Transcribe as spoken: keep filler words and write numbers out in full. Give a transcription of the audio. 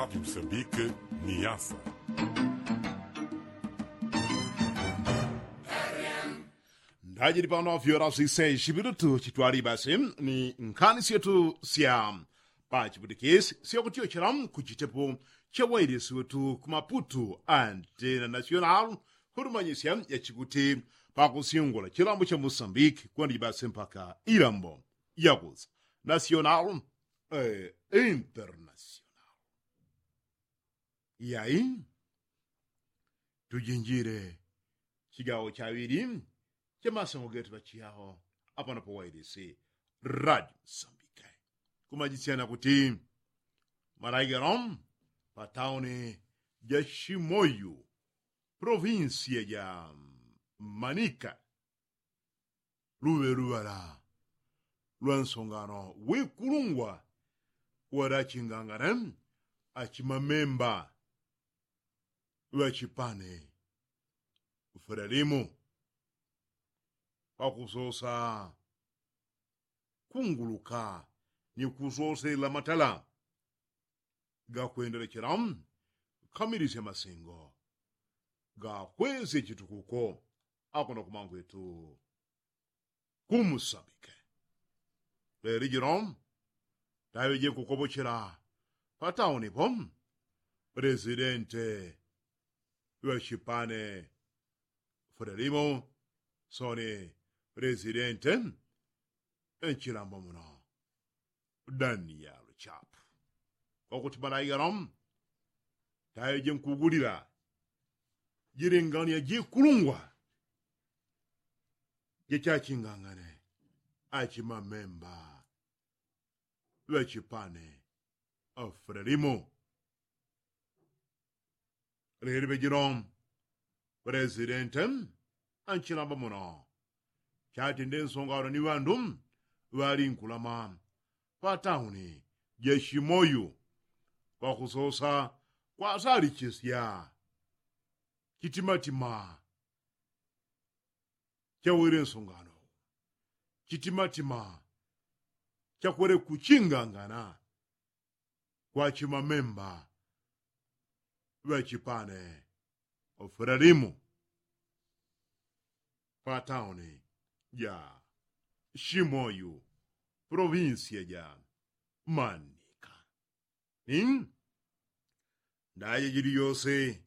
Msambike ni yasa. Ndajili pano fyora sise shipilutu chitwali basi ni nkhani syetu sya pachiputikisi syakutyochela kuchitepo cha wailisi wetu ku maputu antena national kutumanyisya yachikuti pakusyungula chilambo cha musambiki kwandiji basi mpaka ilambo yakusa national eh, international. Yai tujinjile chigawo chaŵili cha masengo getu ŵachiyawo apano pa wailisi radio msambike. Kumajisyana kuti malaigelo pa tauni ja shimoyu provinsia ja manika luŵe luŵala lwa nsongano wikulungwa wali achingangane achimamemba ŵachipane fulalimu pakusosa kunguluka ni kusosela matala gakwendelechela kamilisya masengo gakwesye chitukuko akuno kumangwetu kumusambike. Leli jino taŵeje kukopochela pa tauni po presidente ŵachipane fulalimu soni presidente nchilambo muno daniel chapu kwakuti malaigelo taŵeje nkugulila jilingania jikulungwa jachachingangane achimamemba ŵachipane afulalimu. Leli ŵejino presidente anchilamba muno chatinde nsongano ni ŵandu ŵalinkulama pa tauni ja shimoyu pakusosa kwasalichisya chitimatima chawele nsongano chitimatima chakwele kuchingangana kwa chimamemba ŵachipane fulalimu pa tauni ja shimoyu provinsia ja manika. Ni ndaje jili yose